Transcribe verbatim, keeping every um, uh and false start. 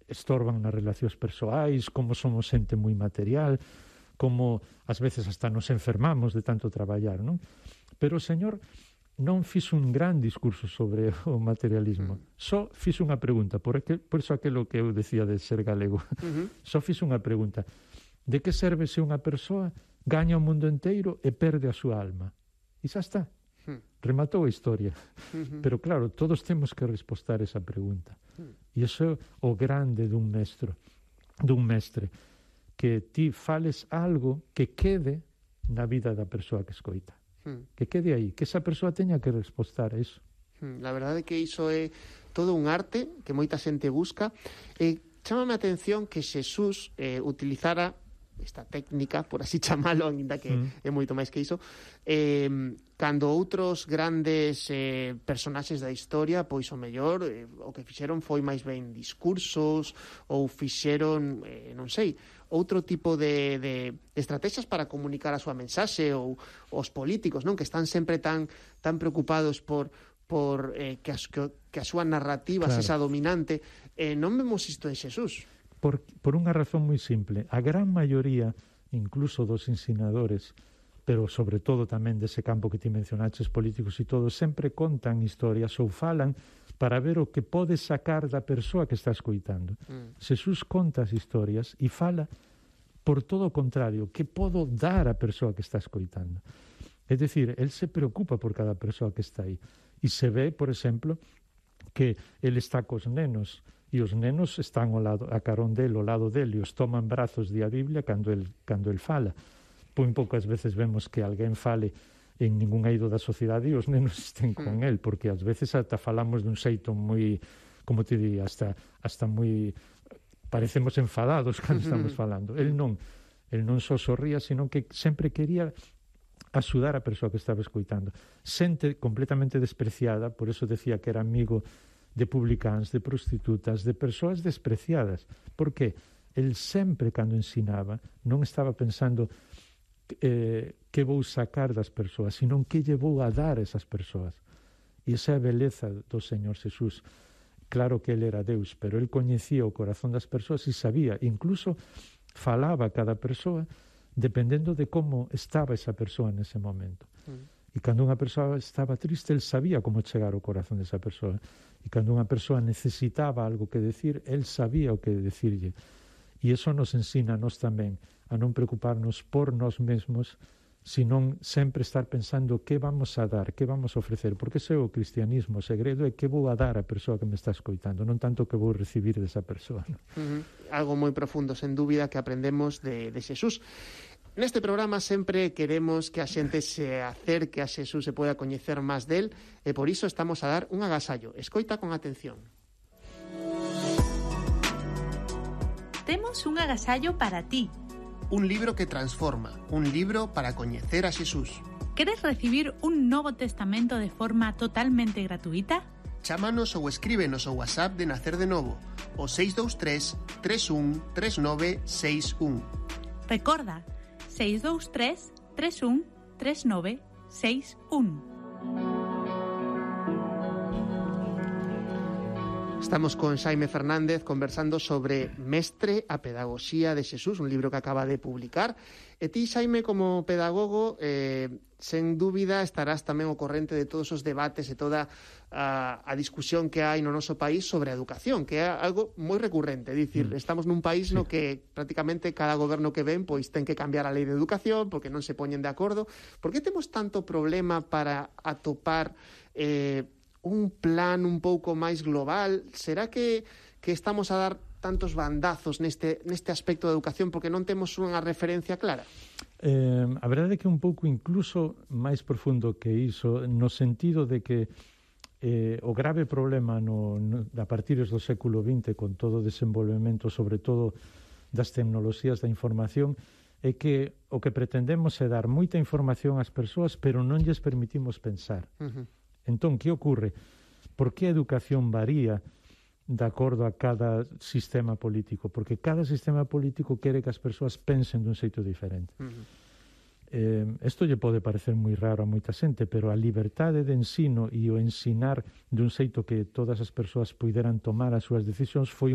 estorban nas relacións persoais, como somos xente moi material, como ás veces hasta nos enfermamos de tanto traballar, non? Pero o Señor non fixo un gran discurso sobre o materialismo, mm. só fixo unha pregunta, por, aquel, por eso aquilo que eu decía de ser galego, uh-huh. só fixo unha pregunta: de que serve se unha persoa gaña o mundo inteiro e perde a súa alma? E xa está, mm. rematou a historia. Uh-huh. Pero claro, todos temos que respostar esa pregunta. Mm. E iso é o grande dun mestre, dun mestre, que ti fales algo que quede na vida da persoa que escoita. Que quede aí, que esa persoa teña que respostar a iso. La verdade é que iso é todo un arte que moita xente busca. Eh, chámame a atención que Xesús eh, utilizara esta técnica, por así chamalo, ainda que mm. é moito máis que iso, eh, cando outros grandes eh, personaxes da historia, pois o mellor eh, o que fixeron foi máis ben discursos ou fixeron, eh, non sei, outro tipo de, de estrategias para comunicar a súa mensaxe, ou os políticos, non, que están sempre tan tan preocupados por por eh, que, as, que, que a súa narrativa claro. sexa dominante. Eh, non vemos isto en Xesús. Por, por unha razón moi simple. A gran maioría, incluso dos ensinadores, pero sobre todo tamén dese campo que ti mencionaches, políticos e todo, sempre contan historias ou falan para ver o que pode sacar da persoa que está escoitando. Mm. Xesús conta as historias e fala por todo o contrario, que podo dar á persoa que está escoitando. É dicir, el se preocupa por cada persoa que está aí. E se ve, por exemplo, que el está cos nenos, e os nenos están ao lado, a carón del, ao lado del, e os toman brazos de a Biblia cando el, cando el fala. Pois poucas veces vemos que alguén fale en ningún eido da sociedade e os nenos estén con el, porque ás veces ata falamos dun xeito moi, como te diría, hasta, hasta moi... parecemos enfadados cando estamos falando. El non, el non só sorría, sino que sempre quería axudar a persoa que estaba escoitando. Xente completamente despreciada, por eso decía que era amigo de publicans, de prostitutas, de persoas despreciadas. Por que? El sempre, cando ensinaba, non estaba pensando eh, que vou sacar das persoas, sino que lle vou a dar a esas persoas. E esa é a beleza do Señor Xesús. Claro que ele era Deus, pero el coñecía o corazón das persoas e sabía, incluso falaba a cada persoa dependendo de como estaba esa persoa nese momento. Mm. E cando unha persoa estaba triste, el sabía como chegar ao corazón desa persoa. E cando unha persoa necesitaba algo que decir, el sabía o que decirlle. E iso nos ensina a nós tamén a non preocuparnos por nós mesmos, senón sempre estar pensando que vamos a dar, que vamos a ofrecer, porque ese é o cristianismo. O segredo é que vou a dar a persoa que me está escoitando, non tanto que vou recibir desa persoa. ¿No? Uh-huh. Algo moi profundo, sen dúbida, que aprendemos de, de Xesús. Neste programa sempre queremos que a xente se acerque a Xesús, se poida coñecer máis del, e por iso estamos a dar un agasallo. Escoita con atención. Temos un agasallo para ti. Un libro que transforma, un libro para coñecer a Xesús. Queres recibir un Novo Testamento de forma totalmente gratuita? Chámanos ou escríbenos ao WhatsApp de Nacer de Novo, o seis dous tres, tres un, tres nove seis un. Recorda, seis dous tres, tres un, tres nove seis un. Estamos con Xaime Fernández conversando sobre Mestre, a pedagogía de Xesús, un libro que acaba de publicar. E ti, Xaime, como pedagogo, eh, sen dúbida estarás tamén ao corrente de todos os debates e toda a, a discusión que hai no noso país sobre a educación, que é algo moi recurrente. É dicir, mm. estamos nun país sí. no que prácticamente cada goberno que ven pois ten que cambiar a lei de educación porque non se poñen de acordo. Por que temos tanto problema para atopar eh, un plan un pouco máis global? Será que, que estamos a dar tantos bandazos neste, neste aspecto da educación porque non temos unha referencia clara? Eh, a verdade é que un pouco incluso máis profundo que iso, no sentido de que eh, o grave problema no, no, a partir do século vinte, con todo o desenvolvemento, sobre todo das tecnoloxías da información, é que o que pretendemos é dar moita información ás persoas, pero non lles permitimos pensar. Uh-huh. Entón, que ocorre? Por que a educación varía de acordo a cada sistema político? Porque cada sistema político quere que as persoas pensen dun xeito diferente. Uh-huh. Eh, isto lle pode parecer moi raro a moita xente, pero a liberdade de ensino e o ensinar dun xeito que todas as persoas puideran tomar as súas decisións foi